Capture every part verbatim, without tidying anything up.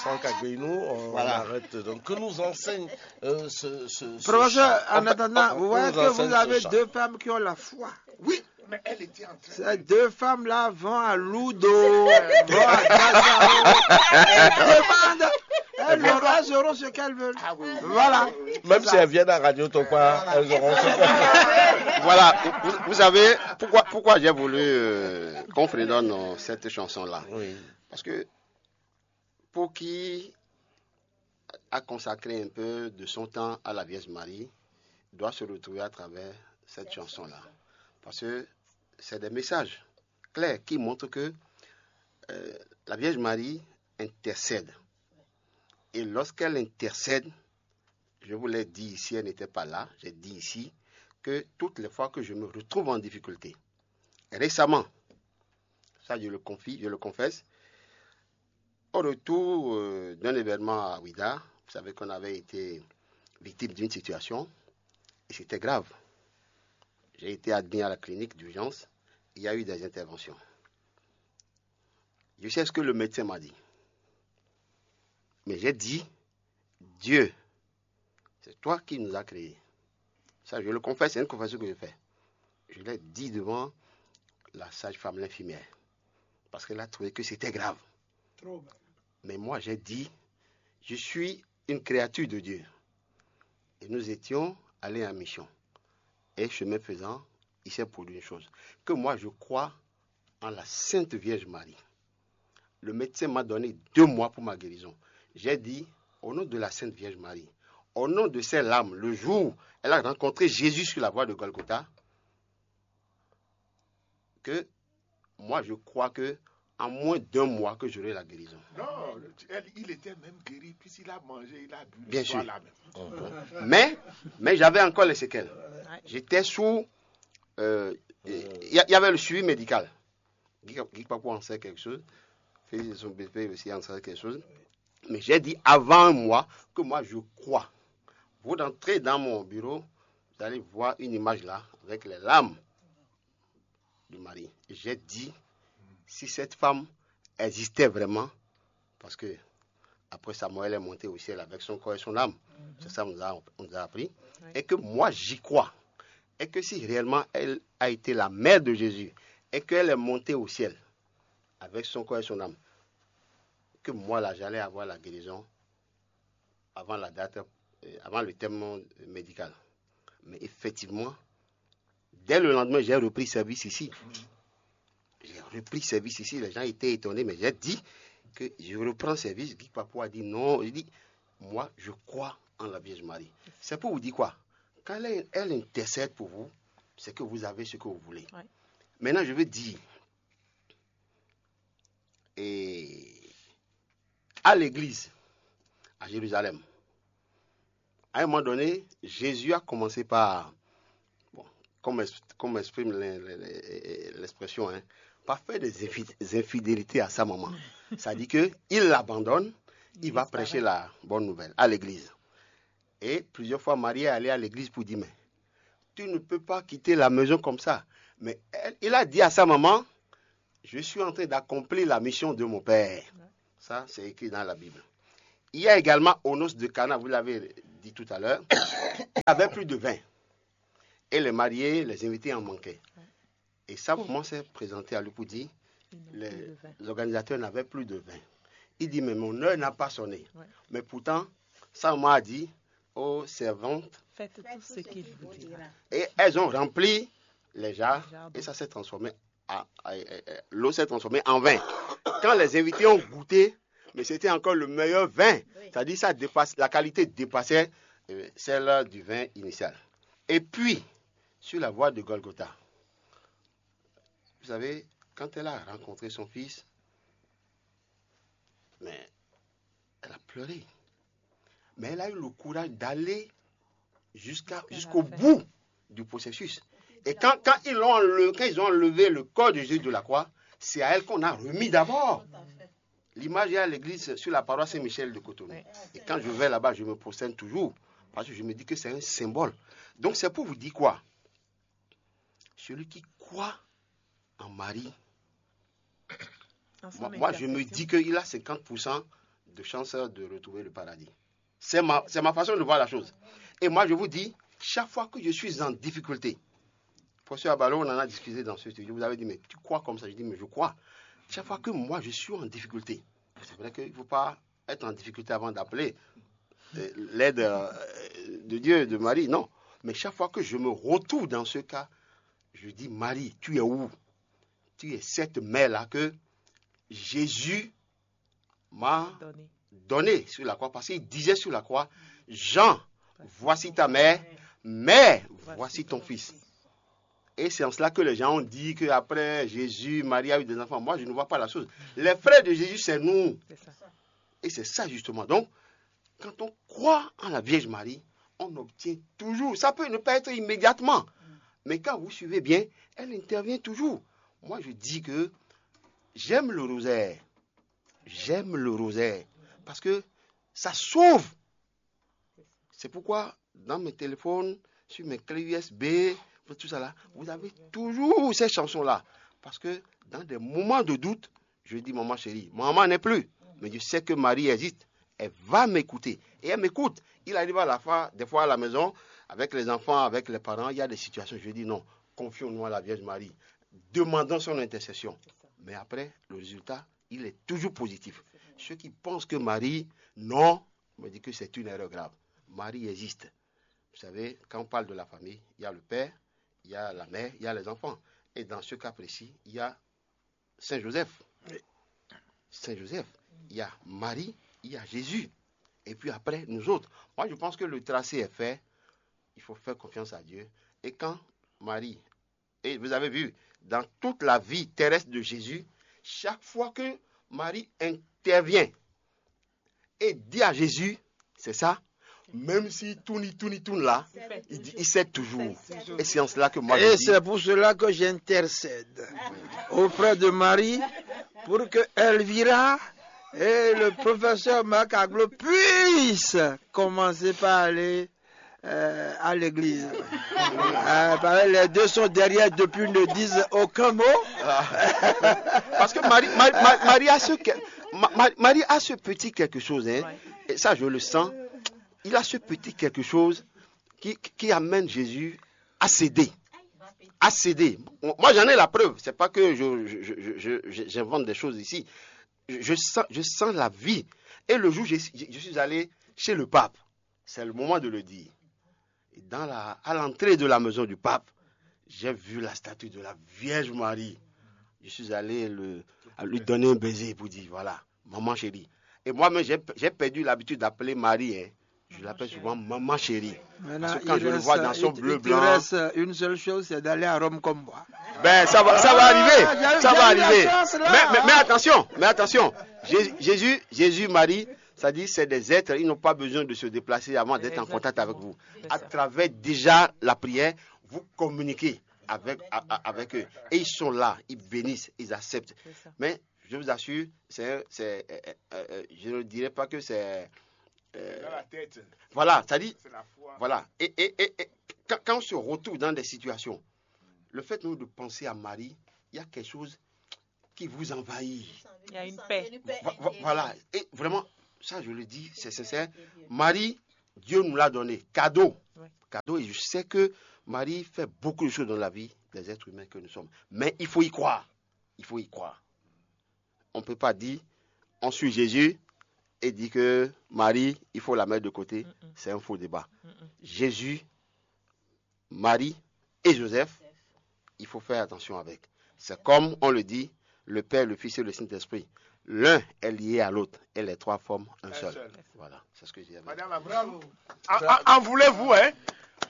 Franck Agbeinu, on Voilà. arrête. Donc, que nous enseigne euh, ce, ce, ce Professeur, chant. En On peut- attendant, on- vous on voyez nous que vous enseigne ce avez chant. deux femmes qui ont la foi. Oui, mais elle était en train. Ces deux femmes-là vont à Ludo, vont à Dazao, elles demandent, elles, auront, elles auront ce qu'elles veulent. Ah oui, oui, Voilà. oui, oui, oui. Même si elles viennent à Radio Topa, elles auront ce qu'elles veulent. Voilà, vous, vous savez pourquoi, pourquoi j'ai voulu euh, qu'on fredonne euh, cette chanson-là. Oui. Parce que pour qui a consacré un peu de son temps à la Vierge Marie doit se retrouver à travers cette chanson-là. Parce que c'est des messages clairs qui montrent que euh, la Vierge Marie intercède. Et lorsqu'elle intercède, je vous l'ai dit ici, elle n'était pas là, j'ai dit ici que toutes les fois que je me retrouve en difficulté, récemment, ça je le confie, je le confesse, au retour euh, d'un événement à Ouidah, vous savez qu'on avait été victime d'une situation et c'était grave. J'ai été admis à la clinique d'urgence, il y a eu des interventions. Je sais ce que le médecin m'a dit. Mais j'ai dit, Dieu, c'est toi qui nous as créés. Ça, je le confesse, c'est une confession que je fais. Je l'ai dit devant la sage-femme, l'infirmière, parce qu'elle a trouvé que c'était grave. Trop grave. Mais moi, j'ai dit, je suis une créature de Dieu. Et nous étions allés en mission. Et chemin faisant, il s'est produit une chose. Que moi, je crois en la Sainte Vierge Marie. Le médecin m'a donné deux mois pour ma guérison. J'ai dit, au nom de la Sainte Vierge Marie, au nom de ses larmes, le jour où elle a rencontré Jésus sur la voie de Golgotha, que moi, je crois que en moins d'un mois que j'aurai la guérison. Non, le- elle- il était même guéri puisqu'il a mangé, il a bu le Bien soir sûr. Là même. Mais, mais j'avais encore les séquelles. J'étais sous... euh, Il y, a- il y avait le suivi médical. Guy Guy Kpakpo en sait quelque chose. Félix Sombépé aussi en sait quelque chose. Mais j'ai dit avant un mois que moi je crois. Vous rentrez dans mon bureau, vous allez voir une image là, avec les larmes de Marie. Et j'ai dit, si cette femme existait vraiment, parce que après Samuel est monté au ciel avec son corps et son âme. C'est ça qu'on nous a, on nous a appris. Et que moi, j'y crois. Et que si réellement elle a été la mère de Jésus, et qu'elle est montée au ciel avec son corps et son âme, que moi, là, j'allais avoir la guérison avant la date, euh, avant le terme médical. Mais effectivement, dès le lendemain, j'ai repris service ici. J'ai repris service ici. Les gens étaient étonnés, mais j'ai dit que je reprends service. Guy Papou a dit non. Il dit, moi, je crois en la Vierge Marie. C'est pour vous dire quoi ? Quand elle, elle intercède pour vous, c'est que vous avez ce que vous voulez. Ouais. Maintenant, je veux dire, et à l'église, à Jérusalem, à un moment donné, Jésus a commencé par, bon, comme, ex- comme exprime l'in- l'in- l'expression, hein, par faire des infi- des infidélités à sa maman. C'est-à-dire qu'il l'abandonne, il va prêcher la bonne nouvelle à l'église. Et plusieurs fois, Marie est allée à l'église pour dire, mais tu ne peux pas quitter la maison comme ça. Mais elle- il a dit à sa maman, je suis en train d'accomplir la mission de mon père. Ça, c'est écrit dans la Bible. Il y a également Onos de Cana, vous l'avez dit tout à l'heure, il avait plus de vin. Et les mariés, les invités en manquaient. Et sa maman s'est présentée à lui pour dire, les organisateurs n'avaient plus de vin. Il dit, mais mon heure n'a pas sonné. Ouais. Mais pourtant, sa maman a dit, oh servante, Faites tout ce qu'il vous dira. Et elles ont rempli les jarres et ça s'est transformé en, en- en- en- l'eau s'est transformée en vin. Quand les invités ont goûté, mais c'était encore le meilleur vin. C'est-à-dire ça dépasse, la qualité dépassait euh, celle du vin initial. Et puis, sur la voie de Golgotha, vous savez, quand elle a rencontré son fils, mais elle a pleuré. Mais elle a eu le courage d'aller jusqu'à, jusqu'au bout du processus. Et quand, quand, ils l'ont enlevé, quand ils ont enlevé le corps de Jésus de la croix, c'est à elle qu'on a remis d'abord. L'image est à l'église sur la paroisse Saint-Michel de Cotonou. Et quand je vais là-bas, je me prosterne toujours. Parce que je me dis que c'est un symbole. Donc c'est pour vous dire quoi ? Celui qui croit en Marie, moi, moi, je me dis qu'il a cinquante pour cent de chances de retrouver le paradis. C'est ma, c'est ma façon de voir la chose. Et moi, je vous dis, chaque fois que je suis en difficulté, professeur Abalo, on en a discuté dans ce studio, vous avez dit, mais tu crois comme ça? Je dis, mais je crois. Chaque fois que moi, je suis en difficulté, c'est vrai qu'il ne faut pas être en difficulté avant d'appeler euh, l'aide euh, de Dieu, de Marie, non. Mais chaque fois que je me retrouve dans ce cas, je dis, Marie, tu es où? Tu es cette mère-là que Jésus m'a donné sur la croix, parce qu'il disait sur la croix, Jean, voici ta mère, mère, voici ton fils. Et c'est en cela que les gens ont dit qu'après Jésus, Marie a eu des enfants. Moi, je ne vois pas la chose. Les frères de Jésus, c'est nous. Et c'est ça, justement. Donc, quand on croit en la Vierge Marie, on obtient toujours. Ça peut ne pas être immédiatement. Mais quand vous suivez bien, elle intervient toujours. Moi, je dis que j'aime le rosaire. J'aime le rosaire. Parce que ça sauve. C'est pourquoi dans mes téléphones, sur mes clés U S B, tout ça là, vous avez toujours ces chansons-là. Parce que dans des moments de doute, je dis, maman chérie, maman n'est plus. Mais je sais que Marie existe. Elle va m'écouter. Et elle m'écoute. Il arrive à la fois, des fois à la maison, avec les enfants, avec les parents, il y a des situations. Je dis, non, confions-nous à la Vierge Marie. Demandons son intercession. Mais après, le résultat, il est toujours positif. Ceux qui pensent que Marie, non, me dit que c'est une erreur grave. Marie existe. Vous savez, quand on parle de la famille, il y a le père, il y a la mère, il y a les enfants. Et dans ce cas précis, il y a Saint Joseph. Saint Joseph, il y a Marie, il y a Jésus. Et puis après, nous autres. Moi, je pense que le tracé est fait. Il faut faire confiance à Dieu. Et quand Marie, et vous avez vu, dans toute la vie terrestre de Jésus, chaque fois que Marie intervient et dit à Jésus, c'est ça, même si tout ni tout ni tout là, il, dit, il sait toujours. Et c'est en cela que moi je Et dis, c'est pour cela que j'intercède auprès de Marie pour que Elvira et le professeur Marc Aglo puissent commencer par aller euh, à l'église. Euh, pareil, les deux sont derrière depuis, ne disent aucun mot. Parce que Marie, Marie, Marie- Marie a ce que- Ma- Ma- Marie a ce petit quelque chose, hein. Et ça, je le sens. Il a ce petit quelque chose qui, qui amène Jésus à céder. À céder. Moi, j'en ai la preuve. C'est pas que je, je- je- je- je- j'invente des choses ici. Je, je sens, je sens la vie. Et le jour où je, je- je suis allé chez le pape, c'est le moment de le dire. Et dans la, à l'entrée de la maison du pape, j'ai vu la statue de la Vierge Marie. Je suis allé le- lui donner un baiser pour dire, voilà, maman chérie. Et moi-même, j'ai j'ai perdu l'habitude d'appeler Marie, hein. Je l'appelle souvent maman chérie. Parce que quand je le vois dans son bleu blanc, il te reste une seule chose, c'est d'aller à Rome comme moi. Ben, ça va, ça va arriver. Ça va arriver. Mais, mais- mais attention, mais attention. Jésus, Jésus, Jésus, Marie, ça dit, c'est des êtres, ils n'ont pas besoin de se déplacer avant d'être en contact avec vous. À travers déjà la prière, vous communiquez avec, a- a- avec eux. Et ils sont là, ils bénissent, ils acceptent. Mais je vous assure, c'est, c'est, euh, euh, euh, je ne dirais pas que c'est. Euh, voilà, ça dit. Voilà. Et, et- et- et quand, quand on se retrouve dans des situations, le fait même de penser à Marie, il y a quelque chose qui vous envahit. Il y a une paix. Vo- vo- Voilà. Et vraiment, ça, je le dis, c'est sincère. Marie, Dieu nous l'a donné. Cadeau. Cadeau. Et je sais que Marie fait beaucoup de choses dans la vie des êtres humains que nous sommes. Mais il faut y croire. Il faut y croire. On ne peut pas dire, on suit Jésus et dire que Marie, il faut la mettre de côté. C'est un faux débat. Jésus, Marie et Joseph, il faut faire attention avec. C'est comme on le dit, le Père, le Fils et le Saint-Esprit. L'un est lié à l'autre et les trois forment un seul. Voilà, c'est ce que j'ai à dire. Madame, bravo. En, en- en voulez-vous, hein?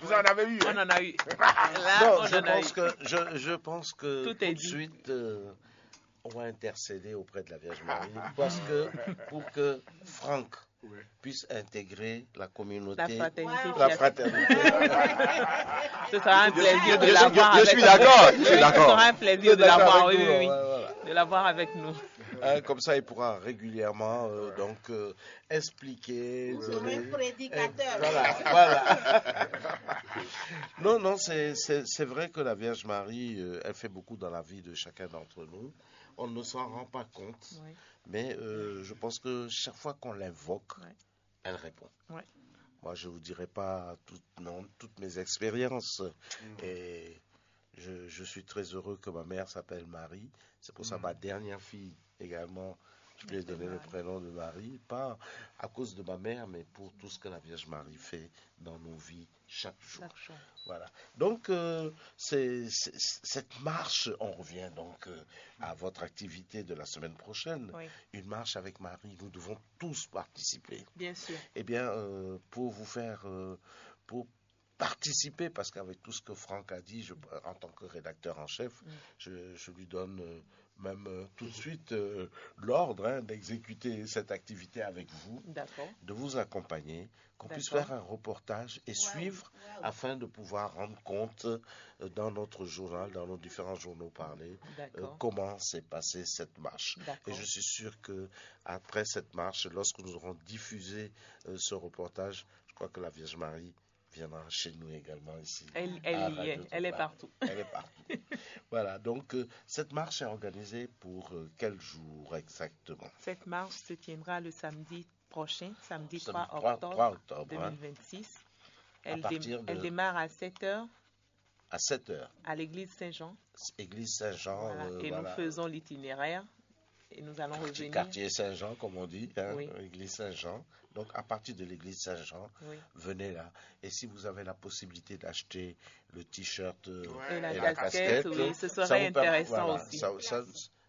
Vous en avez eu, On hein? en a eu. Là, Non, on je en a pense eu. que je, je pense que Tout est tout de dit. suite, euh, on va intercéder auprès de la Vierge Marie parce que pour que Franck puisse intégrer la communauté, La fraternité. la fraternité. Ce sera un plaisir de je- l'avoir je avec suis nous. d'accord, je suis Oui, d'accord. Ce sera un plaisir de l'avoir, oui, oui, oui. De l'avoir avec nous. Hein, comme ça, il pourra régulièrement euh, donc euh, expliquer, Vous serez donner- prédicateur. Voilà, voilà. Non, non, c'est- c'est c'est vrai que la Vierge Marie, euh, elle fait beaucoup dans la vie de chacun d'entre nous. on ne s'en rend pas compte, mais euh, je pense que chaque fois qu'on l'invoque, elle répond. Moi, je ne vous dirai pas tout, non, toutes mes expériences. Et je, je suis très heureux que ma mère s'appelle Marie. C'est pour ça ma dernière fille également, je lui ai donné le prénom de Marie, pas à cause de ma mère, mais pour tout ce que la Vierge Marie fait dans nos vies chaque jour. Voilà. Donc, euh, c'est, c'est- cette marche, on revient donc euh, à votre activité de la semaine prochaine. Une marche avec Marie, nous devons tous participer. Bien sûr. Eh bien, euh, pour vous faire, euh, pour participer, parce qu'avec tout ce que Franck a dit, je- en tant que rédacteur en chef, je, je lui donne euh, même euh, tout de suite euh, l'ordre hein, d'exécuter cette activité avec vous, D'accord. De vous accompagner, qu'on puisse D'accord. Faire un reportage et suivre afin de pouvoir rendre compte euh, dans notre journal, dans nos différents journaux parlés, euh, D'accord. Comment s'est passée cette marche. Et D'accord. Je suis sûr que après cette marche, lorsque nous aurons diffusé euh, ce reportage, je crois que la Vierge Marie viendra chez nous également ici. Elle, elle à y Radio est, elle est Topa. Partout. Elle est partout. Voilà, donc euh, cette marche est organisée pour euh, quel jour exactement? Cette marche se tiendra le samedi prochain, samedi Samedi 3 3, octobre 3 octobre, hein, 2026. à Elle, dé- partir de elle démarre à sept heures à sept heures, à l'église Saint-Jean. Église Saint-Jean. Voilà. Euh, Et voilà. Nous faisons l'itinéraire et nous allons Quartier, revenir. Quartier Saint-Jean, comme on dit, hein, Oui. Église Saint-Jean. Donc, à partir de l'église Saint-Jean, Oui. Venez là. Et si vous avez la possibilité d'acheter le t-shirt euh, Et la et la casquette, casquette, oui, ce ça serait vous per- intéressant voilà, aussi. Ça, ça-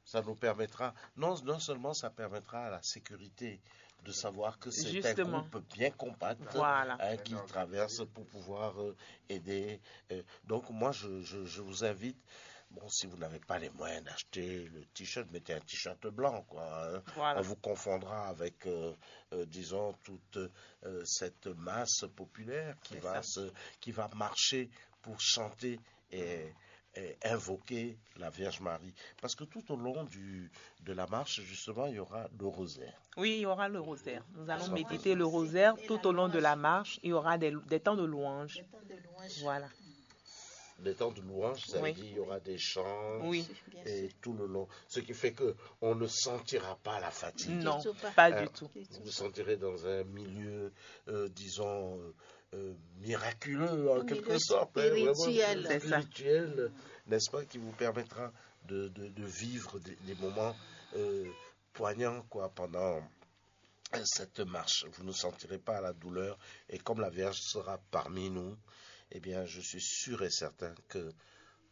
ça nous permettra, non, non seulement ça permettra à la sécurité de savoir que c'est un Justement. Groupe bien compact Voilà. Hein, qui traverse pour pouvoir euh, aider. Euh, donc moi, je, je- je vous invite, bon, si vous n'avez pas les moyens d'acheter le t-shirt, mettez un t-shirt blanc, quoi. Hein. Voilà. On vous confondra avec, euh, euh, disons, toute euh, cette masse populaire qui C'est va, ça. Se, qui va marcher pour chanter et, et invoquer la Vierge Marie. Parce que tout au long du, de la marche, justement, il y aura le rosaire. Oui, il y aura le rosaire. Nous allons Ça, méditer le rosaire tout au long de la marche. Il y aura des, des temps de louange. Voilà. Des temps de louange, ça Oui. Veut dire il y aura des chants Oui. Et tout le long. Ce qui fait que on ne sentira pas la fatigue. Non, Surtout pas. Pas Euh, du tout. Vous vous sentirez dans un milieu, euh, disons, euh, euh, miraculeux en Un quelque milieu sorte, hein, vraiment spirituel. C'est ça. Spirituel, n'est-ce pas, qui vous permettra de, de- de vivre des, des moments euh, poignants quoi, pendant euh, cette marche. Vous ne sentirez pas la douleur. Et comme la Vierge sera parmi nous, eh bien, je suis sûr et certain que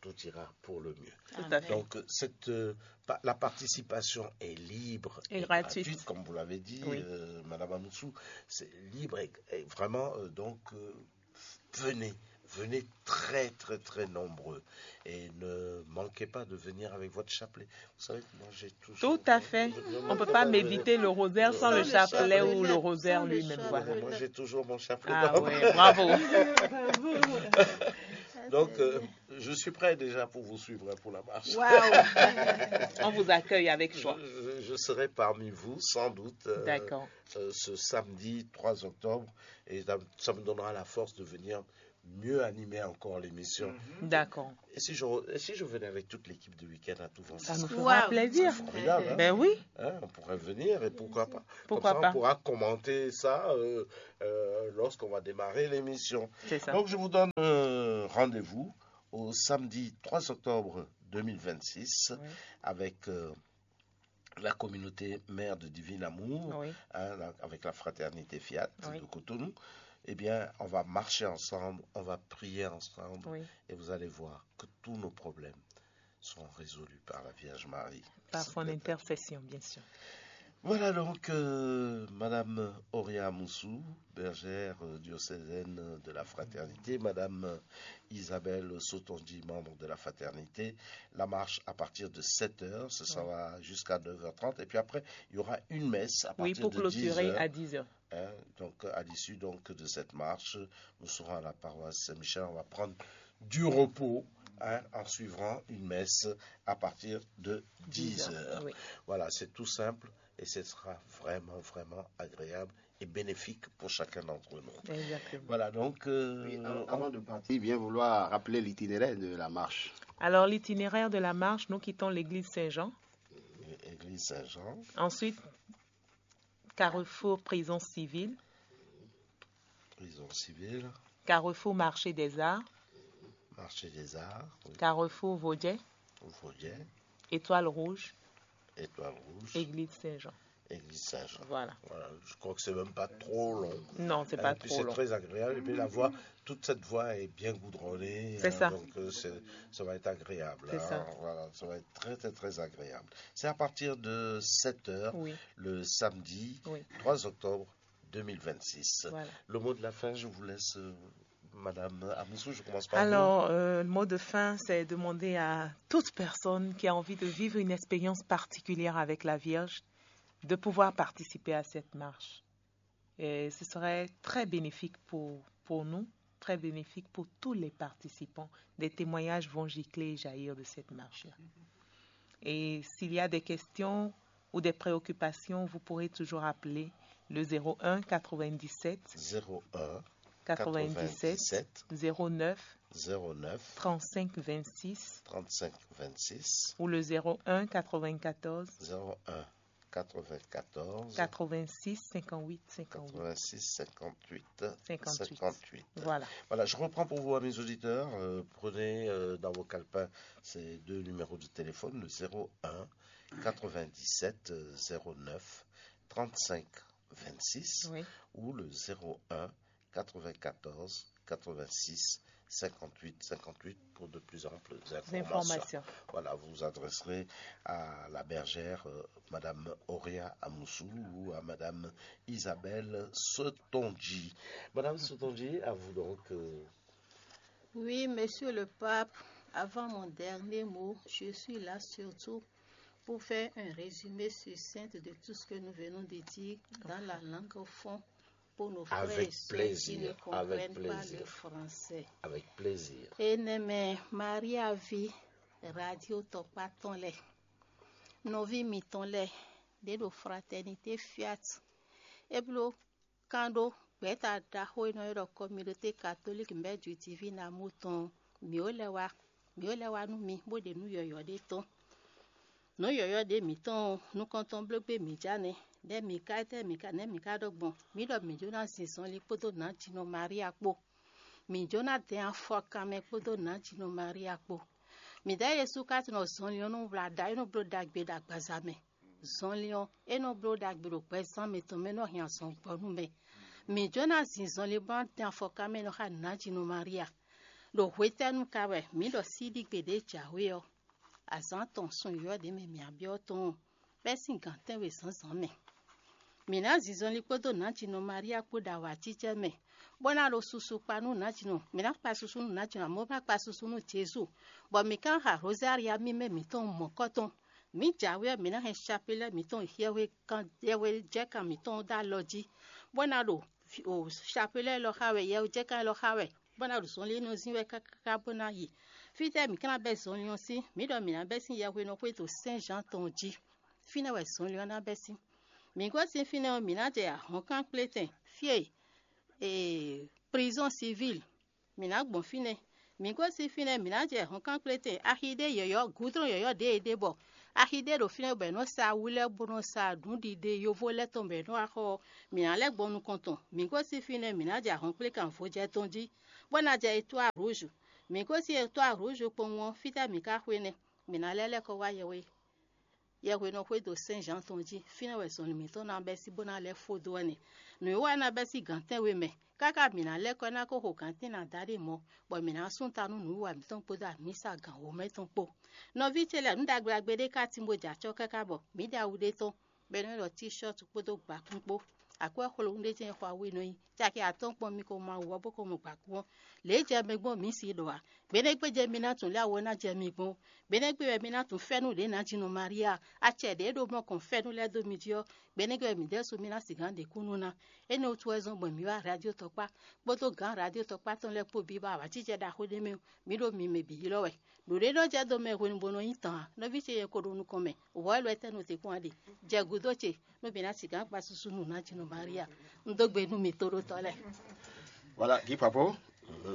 tout ira pour le mieux. Tout à fait. Donc, euh, cette, euh, pa- la participation est libre Et et gratuite. Gratuite, comme vous l'avez dit, Oui. euh, Madame Amoussou. C'est libre et, et vraiment, euh, donc, euh, venez, venez très, très, très nombreux et ne manquez pas de venir avec votre chapelet. Vous savez que moi, j'ai toujours. Tout à fait. On ne peut pas méditer le rosaire sans le chapelet ou le rosaire lui-même. Voilà. Moi, j'ai toujours mon chapelet. Ah Dans- ouais, bravo. Donc, euh, je suis prêt déjà pour vous suivre hein, pour la marche. Waouh. On vous accueille avec joie. Je, je- je serai parmi vous, sans doute, euh, D'accord. euh, ce samedi trois octobre. Et ça, ça me donnera la force de venir mieux animer encore l'émission. D'accord. Et si je, re- et si je venais avec toute l'équipe de week-end à tout vent Ça nous Waouh. Fera plaisir. Formidable, hein? Ben oui. Hein, on pourrait venir et pourquoi pas. Pourquoi Comme ça, pas. On pourra commenter ça euh, euh, lorsqu'on va démarrer l'émission. C'est ça. Donc, je vous donne euh, rendez-vous au samedi trois octobre deux mille vingt-six avec euh, la communauté mère de Divin Amour, Oui. hein, la- avec la fraternité Fiat Oui. De Cotonou. Eh bien, on va marcher ensemble, on va prier ensemble Oui. Et vous allez voir que tous nos problèmes seront résolus par la Vierge Marie. Par son intercession, bien sûr. Voilà donc euh, Madame Auria Moussou, bergère euh, diocésaine de la Fraternité, Madame euh, Isabelle Sotonji, membre de la Fraternité. La marche à partir de sept heures, ce sera jusqu'à neuf heures trente. Et puis après, il y aura une messe à Oui, partir pour de dix clôturer heures. À dix heures. Hein, donc, à l'issue donc de cette marche, nous serons à la paroisse Saint-Michel. On va prendre du repos hein, en suivant une messe à partir de dix heures. Oui. Voilà, c'est tout simple et ce sera vraiment, vraiment agréable et bénéfique pour chacun d'entre nous. Exactement. Voilà, donc, euh, Oui, avant, avant de partir, bien vouloir rappeler l'itinéraire de la marche. Alors, l'itinéraire de la marche, nous quittons l'église Saint-Jean. Église Saint-Jean. Ensuite, carrefour prison civile, Prison civile, carrefour marché des arts, marché des arts, oui, carrefour Vaudier, Vaudier, étoile rouge, étoile rouge, église Saint-Jean. Église Saint-Jean. Voilà. Voilà, je crois que c'est même pas trop long. Non, c'est pas trop long. Et puis c'est très agréable. Et puis la voie, toute cette voie est bien goudronnée. C'est ça. Donc euh, c'est- ça va être agréable. C'est ça. Voilà, ça va être très, très, très agréable. C'est à partir de sept heures, oui, le samedi, oui, trois octobre deux mille vingt-six. Voilà. Le mot de la fin, je vous laisse, euh, Madame Amoussou, je commence par vous. Alors, euh, le mot de fin, c'est demander à toute personne qui a envie de vivre une expérience particulière avec la Vierge de pouvoir participer à cette marche. Et ce serait très bénéfique pour, pour nous, très bénéfique pour tous les participants. Des témoignages vont gicler et jaillir de cette marche-là. Et s'il y a des questions ou des préoccupations, vous pourrez toujours appeler le zéro un quatre-vingt-dix-sept zéro un quatre-vingt-dix-sept quatre-vingt-dix-sept zéro neuf zéro neuf trente-cinq vingt-six trente-cinq vingt-six ou le zéro un quatre-vingt-quatorze zéro un quatre-vingt-quatorze quatre-vingt-six cinquante-huit cinquante-huit. Quatre-vingt-six cinquante-huit cinquante-huit. Cinquante-huit. Voilà. Voilà, je reprends pour vous, amis auditeurs. Euh, prenez euh, dans vos calepins ces deux numéros de téléphone, le zéro un quatre-vingt-dix-sept zéro neuf trente-cinq vingt-six, oui, ou le zéro un quatre-vingt-quatorze quatre-vingt-six cinquante-huit cinquante-huit pour de plus amples informations. Informations. Voilà, vous vous adresserez à la bergère, euh, Madame Auria Amoussou ou à Madame Isabelle Sotonji. Madame Sotonji, à vous donc. Euh, oui, Monsieur le Pape, avant mon dernier mot, je suis là surtout pour faire un résumé succinct de tout ce que nous venons de dire dans la langue au fond pour nos frères et sœurs qui ne comprennent pas le français. Avec plaisir. Enɛmɛ Maria ví radio tɔkpá tɔn lɛ, nɔví mitɔn lɛ, ɖě ɖo Fraternité Fiat, é bló kán ɖó gbɛ̌ta ɖaxó e nɔ ylɔ́ ɖɔ communauté catholique mɛ̌ jwǐtíví ná mú tɔn ɔ́, mǐ ó lɛ́ wá, mǐ ó lɛ́ wá nú mi bó ɖe nǔ yɔ̌yɔ́ ɖé tɔn. Nǔ yɔ̌yɔ́ ɖě mǐtɔn ɔ́, nukɔntɔn bló gbé mǐ ja nɛ́. Nɛ̌ mǐ ka, étɛ́ mǐ ka, nɛ̌ mǐ ka ɖɔ gbɔn? Mǐ ɖɔ mǐ jló ná zin zɔnlin kpódó nǎjínɔ Maria kpó. Mǐ jló ná dɛn afɔkanmɛ kpódó nǎjínɔ Maria kpó. Mǐdɛɛ Jezu ka tunwun ɖɔ zɔnlin ɔ́ nɔ wlá ɖa, é nɔ bló ɖagbe ɖo agbaza mɛ. Zɔnlin ɔ́, é nɔ bló ɖagbe ɖo gbɛzán mǐtɔn mɛ, é nɔ hɛn azɔn gbɔ nú mɛ. Mǐ jló ná zin zɔnlin bó ná dɛn afɔkanmɛ nɔ xá nǎjínɔ Maria. Ɖo hwetɛ́nu ka wɛ mǐ ɖɔ síɖígbe ɖě jǎwe ɔ́, azǎn tɔn sun yɔ̌yɔ́ ɖě mɛ mǐ byɔ́ tɔn ɔ́, bɛ́ sín gǎn tɛ́nwe zǎnzǎn mɛ? Mǐ ná zin zɔnlin kpódó nǎjínɔ Maria kpó ɖo awǎjijɛ mɛ, bó ná ɖo susu kpa nú nǎjínɔ. Mǐ ná kpa susu nú nǎjínɔ, amɔ̌ bó ná kpa susu nú Jezu, bɔ mǐ ka ná xa Rozária mímɛ́ mǐtɔn mɔ̌kɔ́ tɔn. Mǐ jǎwe ɔ́, mǐ ná hɛn capelɛ́ mǐtɔn yɛhwekan yɛhwejɛkan mǐtɔn ɔ́ dó alɔ jí, bó ná ɖo capelɛ́ élɔ́ xa wɛ, yɛhwejɛkan élɔ́ xa wɛ, bó ná ɖo zɔnlin énɛ́ ɔ́ zín wɛ káká bó ná yi. Fítɛ́ mǐ ka ná bɛ́ zɔnlin ɔ́ sín? Mǐ ɖɔ mǐ ná bɛ́ sín yɛhwenɔ xwé ɖo Sɛ́n Zǎan tɔn jí. Fínɛ́ wɛ zɔnlin ɔ́ ná bɛ́ sín. Mǐ gosín fínɛ́ ɔ́, mǐ ná jɛ ahɔ̌nkan kplétɛn fí e ee, prizɔ́n sivíl. Mǐ ná gbɔn fínɛ́. Mǐ gosín fínɛ́, mǐ ná jɛ ahɔ̌nkan kplétɛn axi ɖé yɔ̌yɔ́, gǔdrɔ́n yɔ̌yɔ́ ɖě è ɖe bɔ axi ɖé ɖo fínɛ́ bɔ è nɔ sa awu lɛ́ɛ bó nɔ sa nǔɖiɖe yovo lɛ́ɛ tɔn bɔ è nɔ wá xɔ ɔ́, mǐ ná lɛ́ gbɔn nukɔn tɔn. Mǐ gosín fínɛ́, mǐ ná jɛ ahɔ̌nkplékan vojɛ tɔn jí, bó ná jɛ etwá rǔzu. Mǐ gosín etwá rǔzu kpowun ɔ́, fítɛ́ mǐ ka xwe nɛ́? Mǐ ná lɛ́ lɛ́ kɔ wá yɛhwe yɛhwenɔ xwédo Sɛ́n Zǎan tɔn jí. Fínɛ́ wɛ zɔnlin mǐtɔn ná bɛ́ sí bó ná lɛ́ fó dó wɛ nɛ́. Nǔwiwa ná bɛ́ sí gǎn tɛ́nwe mɛ, káká mǐ ná lɛ́ kɔ ná kó xo gǎn tɛ́nwe ná dó ɖé mɔ̌, bɔ mǐ ná sú ta nú nǔwiwa mǐtɔn kpódó amǐsa gǎn wǒ mɛ tɔn kpó. Nɔví ce lɛ́ɛ, nǔ ɖagbe ɖagbe ɖé ka tín bó jɛ acɔ́ káká bɔ mǐ ɖe awu ɖé tɔn, bɔ é nɔ ɖɔ tíshɔ́tu kpódó gbakún kpó. Akwɛ́ xwlowún ɖé jɛ́n xɔ awu e nɔ nyi caki atɔ́ɔ́n kpɔ́n mi ko ma wú ɔ́ bó ko mɔ gbakún ɔ́, lě e jɛ mi gbɔn mǐ si ɖɔ ǎ. Gbeɖégbé jɛ mi ná tunwun lě awu ɔ́ ná jɛ mi gbɔn. Gbeɖégbé wɛ mi ná tunwun fɛ́nú ɖě ná jí nɔ Maria. Acɛ ɖě ɖo mɔ kɔn fɛ́nú lɛ́ɛ dó mi jí ɔ́, gbeɖégbé wɛ mǐ ɖésú mi ná sixú ɖe kúnnu ná. Énɛ́ wútu wɛ zɔ́n gbɔn mǐ wá radio tɔkpá kpódó gǎn radio tɔkpá tɔn lɛ́ɛ kpó bǐ bɔ awǎjijɛ ɖaxó ɖé mɛ ɔ́, mǐ ɖo mi mɛ bǐ ylɔ́ wɛ. Nǔɖé nɔ jɛ dó mɛ hwenu bó nɔ nyí tɔn ǎ. Nɔví ce yɛ ko ɖo nukɔn mɛ, wǔ wɛ lɔ étɛ́ nɔ te kpɔ́n a ɖe? Jɛ gǔdo ce, nú mǐ ná sixú gba susu nú nǎ jí nɔ Maria. Un dó gbe nú mi tóɖótɔ́ lɛ́ɛ. Voilà, Guy Papo,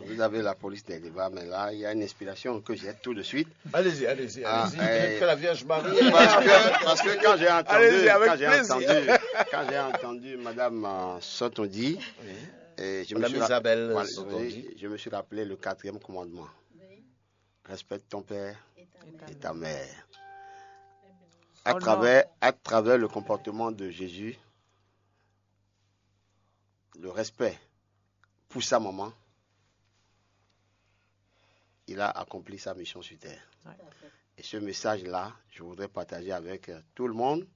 Vous avez la police des débats, mais là, il y a une inspiration que j'ai tout de suite. Allez-y, allez-y, Ah, allez-y. euh, Que la Vierge Marie. Parce que, parce que quand j'ai entendu, Allez-y, avec quand j'ai plaisir. entendu, quand j'ai entendu Madame euh, Sotondi, et je me Madame suis rapp- Isabelle voilà, Sotondi. Oui, je me suis rappelé le quatrième commandement. Respecte ton père et ta mère. À Honore. Travers, à travers le comportement de Jésus, le respect pour sa maman, il a accompli sa mission sur terre. Ouais. Et ce message-là, je voudrais partager avec euh, tout le monde,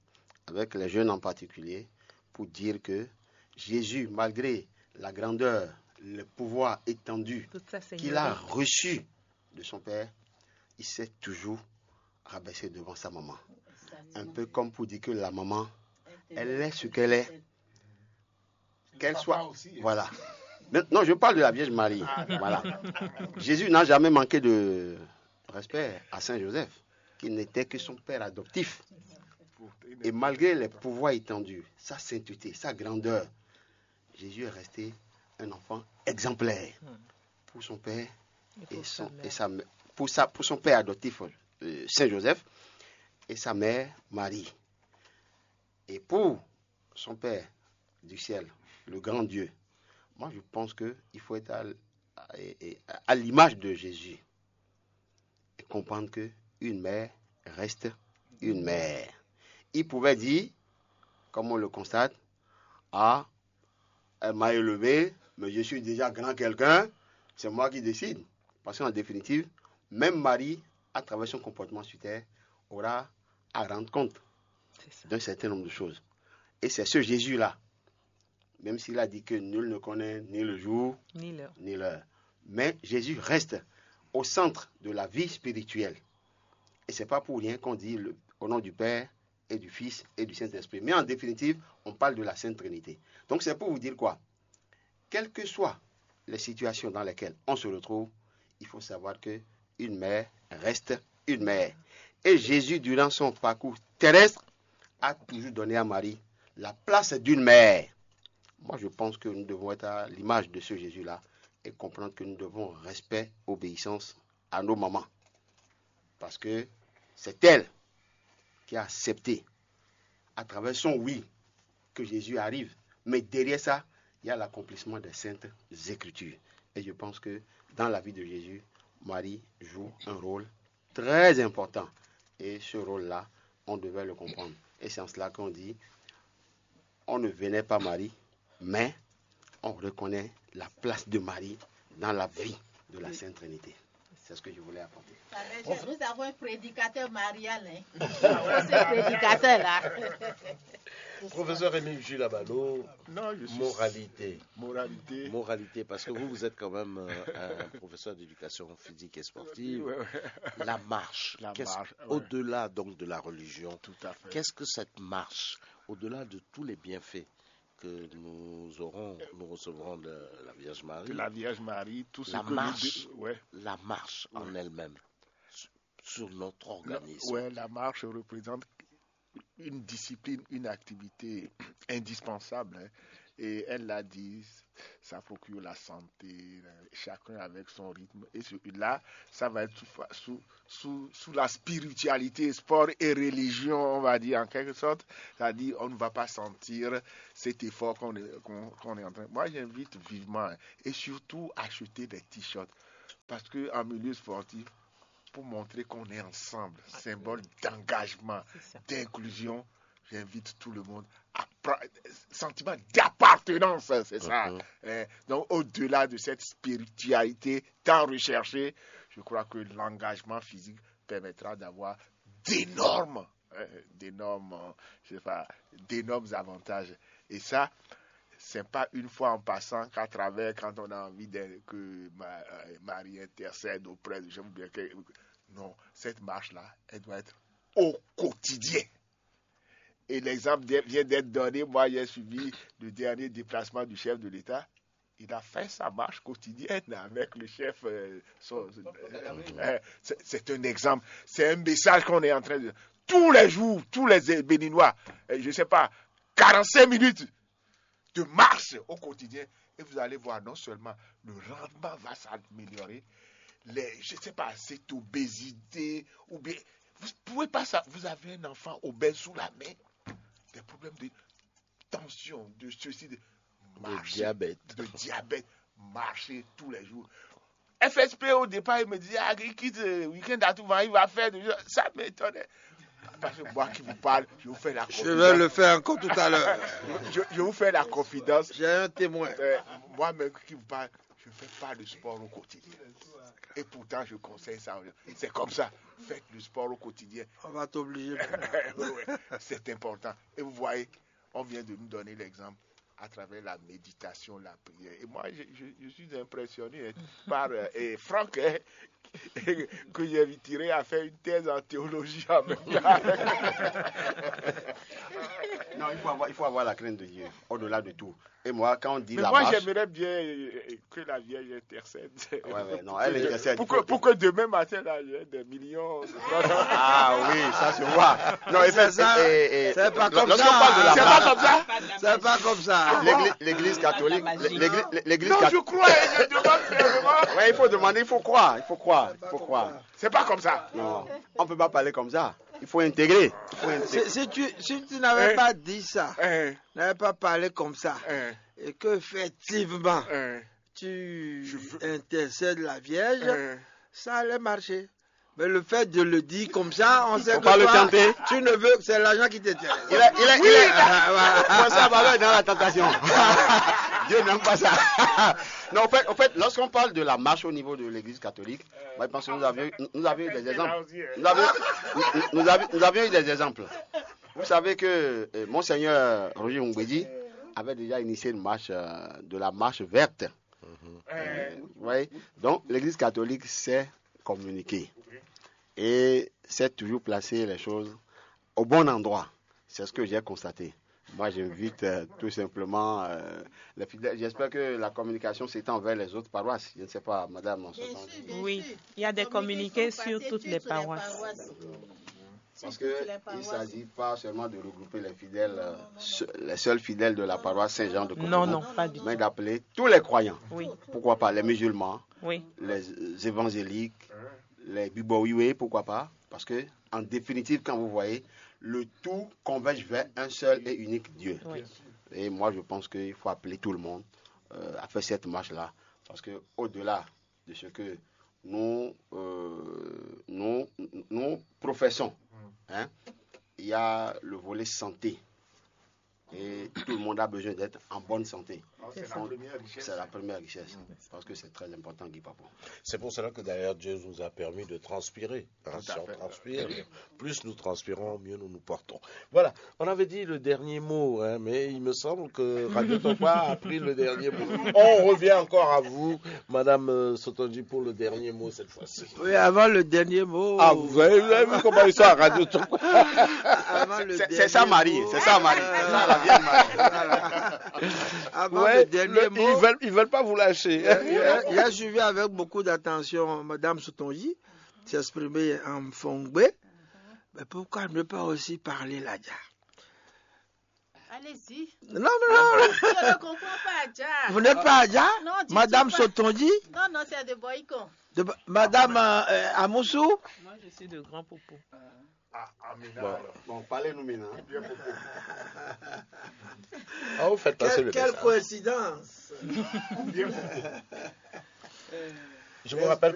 avec les jeunes en particulier, pour dire que Jésus, malgré la grandeur, le pouvoir étendu Toute sa qu'il a seigneurie. Reçu de son Père, il s'est toujours rabaissé devant sa maman. Un peu comme pour dire que la maman, elle est ce qu'elle est. Qu'elle soit. Voilà. Mais non, je parle de la Vierge Marie. Voilà. Jésus n'a jamais manqué de respect à Saint Joseph, qui n'était que son père adoptif. Et malgré les pouvoirs étendus, sa sainteté, sa grandeur, Jésus est resté un enfant exemplaire pour son père et, son, et sa mè- pour, sa, pour son père adoptif, euh, Saint Joseph, et sa mère Marie. Et pour son Père du ciel, le grand Dieu, moi je pense qu'il faut être à, à- à l'image de Jésus et comprendre que une mère reste une mère. Il pouvait dire, comme on le constate, ah, elle m'a élevé, mais je suis déjà grand quelqu'un, c'est moi qui décide. Parce qu'en définitive, même Marie, à travers son comportement sur terre, aura à rendre compte C'est ça. D'un certain nombre de choses. Et c'est ce Jésus-là, même s'il a dit que nul ne connaît ni le jour, Ni l'heure. Ni l'heure. Mais Jésus reste au centre de la vie spirituelle. Et c'est pas pour rien qu'on dit le- au nom du Père et du Fils et du Saint-Esprit. Mais en définitive, on parle de la Sainte Trinité. Donc c'est pour vous dire quoi? Quelles que soient les situations dans lesquelles on se retrouve, il faut savoir que une mère reste une mère. Et Jésus, durant son parcours terrestre, a toujours donné à Marie la place d'une mère. Moi, je pense que nous devons être à l'image de ce Jésus-là et comprendre que nous devons respect, obéissance à nos mamans. Parce que c'est elle qui a accepté, à travers son oui, que Jésus arrive. Mais derrière ça, il y a l'accomplissement des saintes écritures. Et je pense que dans la vie de Jésus, Marie joue un rôle très important. Et ce rôle-là, on devait le comprendre. Et c'est en cela qu'on dit, on ne venait pas Marie, mais on reconnaît la place de Marie dans la vie de la Sainte Trinité. C'est ce que je voulais apporter. Nous avons un prédicateur marial. Hein. C'est ce prédicateur-là. Professeur Rémi Gilabalo, Non, je suis. Moralité. Moralité. Moralité, parce que vous, vous êtes quand même euh, un professeur d'éducation physique et sportive. Ouais, ouais. La marche, La qu'est-ce- marche, ouais. Au-delà donc de la religion, Tout à fait. Qu'est-ce que cette marche, au-delà de tous les bienfaits que nous aurons, nous recevrons de la Vierge Marie, De la Vierge Marie, tout ce La que marche. nous. Ouais. La marche en elle-même, sur- sur notre La, organisme. Ouais, la marche représente une discipline, une activité indispensable, hein. Et elle l'a dit, ça procure la santé, chacun avec son rythme. Et ce- là, ça va être sous, sous, sous, sous la spiritualité, sport et religion, on va dire en quelque sorte. C'est-à-dire, on ne va pas sentir cet effort qu'on est, qu'on- qu'on est en train. Moi, j'invite vivement, hein, et surtout acheter des t-shirts. Parce qu'en milieu sportif, pour montrer qu'on est ensemble, symbole d'engagement, C'est ça. D'inclusion, j'invite tout le monde à prendre sentiment d'appartenance, c'est ça. Mhm. Hein. Donc, au-delà de cette spiritualité tant recherchée, je crois que l'engagement physique permettra d'avoir d'énormes, hein, d'énormes, euh, je sais pas, d'énormes avantages. Et ça, c'est pas une fois en passant qu'à travers, quand on a envie de- que Ma- euh, Marie intercède auprès de gens, ou bien que, non, cette marche-là, elle doit être au quotidien. Et l'exemple de- vient d'être donné. Moi, j'ai suivi le dernier déplacement du chef de l'État. Il a fait sa marche quotidienne avec le chef. Euh, son- euh, c'est c'est un exemple. C'est un message qu'on est en train de. Tous les jours, tous les Béninois, euh, je ne sais pas, quarante-cinq minutes, de marche au quotidien. Et vous allez voir, non seulement le rendement va s'améliorer, les, je ne sais pas, cette obésité, ou bien, vous ne pouvez pas ça, vous avez un enfant obèse sous la main, des problèmes de tension, de ceci, de, de diabète. De diabète, marcher tous les jours. F S P au départ, il me disait, ah, il quitte le week-end à tout va, il va faire des choses. Ça m'étonnait. Parce que moi qui vous parle, je vous fais la confidence. Je vais le faire encore tout à l'heure. Je, je vous fais la confidence. J'ai un témoin. Euh, moi-même qui vous parle, je ne fais pas de sport au quotidien. Et pourtant, je conseille ça aux gens. C'est comme ça. Faites le sport au quotidien. On va t'obliger. Ouais, c'est important. Et vous voyez, on vient de nous donner l'exemple à travers la méditation, la prière. Et moi, je, je- je suis impressionné, hein, par euh, et Franck, hein, que j'inviterai à faire une thèse en théologie en même temps. Non, il faut avoir, il faut avoir la crainte de Dieu, au-delà de tout. Et moi, quand on dit Mais la moi, marche, j'aimerais bien euh, que la Vierge intercède. Ouais, ouais, non, elle intercède. Pour que, pour que demain matin, là, il y ait des millions. Ah oui, ça se voit. Non, C'est ça. C'est pas comme Lorsqu'on ça. Parle de la C'est marche, pas comme ça. C'est pas comme ça. L'église, l'église catholique, l'église, l'église Non, je catholique. Crois, et je demande vraiment. Ouais, il faut demander, il faut croire, il faut croire, il faut croire. C'est pas comme ça. Non, on peut pas parler comme ça. Il faut intégrer. Il faut intégrer. Si, si tu, si tu n'avais Hein? Pas dit ça, Hein, n'avais pas parlé comme ça, hein, et qu'effectivement, hein, tu Je veux- intercèdes la Vierge, hein. Ça allait marcher. Mais le fait de le dire comme ça, on sait Faut que pas le toi, chanter. Tu ne veux que c'est l'argent qui t'intéresse. Il est, il est, il est. Ah, voilà. Faut ça va dans la tentation. Dieu n'aime pas ça. Non, en fait, en fait, lorsqu'on parle de la marche au niveau de l'église catholique, moi, je pense que nous avions, nous avions eu des exemples. Nous avions, nous, nous avions, nous avions eu des exemples. Vous savez que euh, Monseigneur Roger Mugbedji avait déjà initié une marche, euh, de la marche verte. Euh, vous voyez. Donc, l'église catholique s'est communiquée et s'est toujours placé les choses au bon endroit. C'est ce que j'ai constaté. Moi, j'invite euh, tout simplement euh, les fidèles. J'espère que la communication s'étend vers les autres paroisses. Je ne sais pas, madame. Oui, il y a des communiqués sur toutes les paroisses. Parce qu'il ne s'agit pas seulement de regrouper les fidèles, euh, les seuls fidèles de la paroisse Saint-Jean de Cotonou, Non, non, pas du tout. Mais d'appeler tous les croyants. Oui. Pourquoi pas les musulmans, Oui. Les évangéliques, les bibowiwe, pourquoi pas. Parce que, en définitive, quand vous voyez, le tout converge vers un seul et unique Dieu. Oui. Et moi, je pense qu'il faut appeler tout le monde euh, à faire cette marche-là. Parce que, au-delà de ce que nous, euh, nous, nous professons, hein, il y a le volet santé. Et tout le monde a besoin d'être en bonne santé. C'est la Donc, première richesse. C'est la première richesse. Parce que c'est très important, Guy Papon. C'est pour cela que d'ailleurs Dieu nous a permis de transpirer. Hein. Tout à Si on fait. Transpire, plus nous transpirons, mieux nous nous portons. Voilà, on avait dit le dernier mot, hein, mais il me semble que Radio Topa a pris le dernier mot. On revient encore à vous, Madame euh, Sotonji, pour le dernier mot cette fois-ci. Oui, avant le dernier mot. Ah, vous avez, vous avez vu comment ils sont à Radio Topa? Avant le C'est dernier c'est ça, Marie. Mot, C'est ça, Marie. C'est ça, la vieille Marie. Avant Ouais, le dernier le- mot. Ils veulent, ils veulent pas vous lâcher. J'ai j'ai suivi avec beaucoup d'attention Madame Sotonji s'exprimer en Fongbe. Mais pourquoi ne pas aussi parler Ladja? Allez-y. Non, mais non, Je ne comprends pas, Adja. Vous n'êtes pas Adja? Non, tu Madame dis pas. Sotonji? Non, non, c'est de Boycon. De, Madame euh, Amoussou? Moi, je suis de Grand Popo. Ah, Amina, Bon. Alors. Bon, parlez-nous maintenant. Bien beaucoup. Ah, vous faites passer Quelle, le quelle message. Coïncidence! Bien beaucoup. Je me rappelle